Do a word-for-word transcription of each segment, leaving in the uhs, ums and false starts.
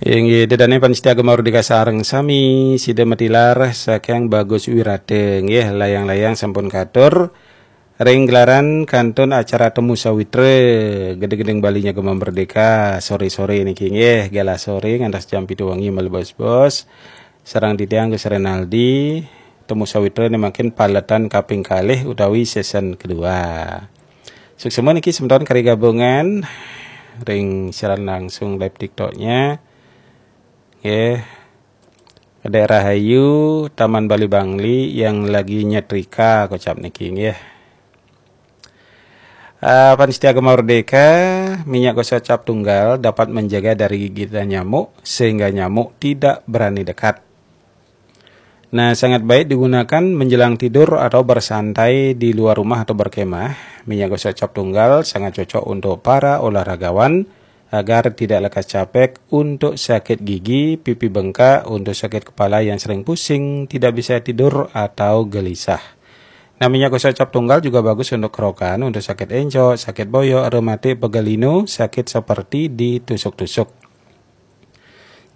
Inggih, dedane pamiarsa Gema Merdeka sareng sami, sida matilar saking Bagus Wirata, nggih, layang-layang sampun katur ring gelaran kantun acara Temu Sawitra, Gede-gedeng Bali nya Gema Merdeka, sore-sore niki, nggih, galah sore ngantos jam pitu wengi, malebos-bos. Sareng titiang Gus Renaldi, Temu Sawitra niki mangkin paletan kaping kalih utawi season kedua. Suksma niki semeton kari gabungan ring siaran langsung live TikTok-nya. Nggih. Daerah Ayu, Taman Bali Bangli yang lagi nyetrika, kocap niki, nggih. Ah, pamiarsa Gema Merdeka, minyak gosok cap tunggal dapat menjaga dari gigitan nyamuk sehingga nyamuk tidak berani dekat. Nah, sangat baik digunakan menjelang tidur atau bersantai di luar rumah atau berkemah. Minyak gosok cap tunggal sangat cocok untuk para olahragawan agar tidak lekas capek, untuk sakit gigi, pipi bengkak, untuk sakit kepala yang sering pusing, tidak bisa tidur, atau gelisah. Nah, minyak gosok cap tunggal juga bagus untuk kerokan, untuk sakit encok, sakit boyok, rematik, pegal linu, sakit seperti ditusuk-tusuk.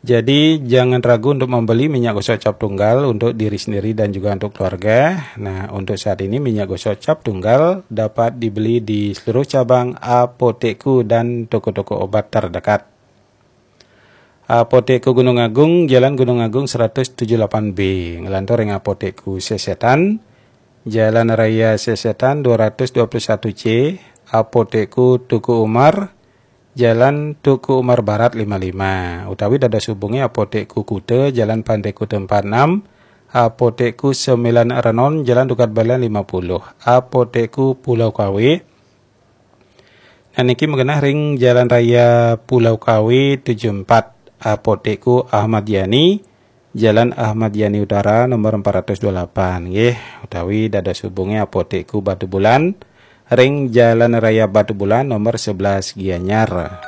Jadi, jangan ragu untuk membeli minyak gosok cap tunggal untuk diri sendiri dan juga untuk keluarga. Nah, untuk saat ini minyak gosok cap tunggal dapat dibeli di seluruh cabang Apotekku dan toko-toko obat terdekat. Apotekku Gunung Agung, Jalan Gunung Agung seratus tujuh delapan B, nglantur ring Apotekku Sesetan, Jalan Raya Sesetan dua ratus dua puluh satu C, Apotekku Tuku Umar, Jalan Tuku Umar Barat lima lima, utawi dados hubungi Apotekku Kuta, Jalan Pantai Kuta empat enam, Apotekku Sembilan Renon, Jalan Dukat Balian lima puluh, Apotekku Pulau Kawe. Nah, niki magenah ring Jalan Raya Pulau Kawe tujuh empat, Apotekku Ahmad Yani, Jalan Ahmad Yani Utara nomor empat ratus dua puluh delapan, nggih, utawi dados hubungi Apotekku Batubulan ring Jalan Raya Batubulan nomor sebelas Gianyar.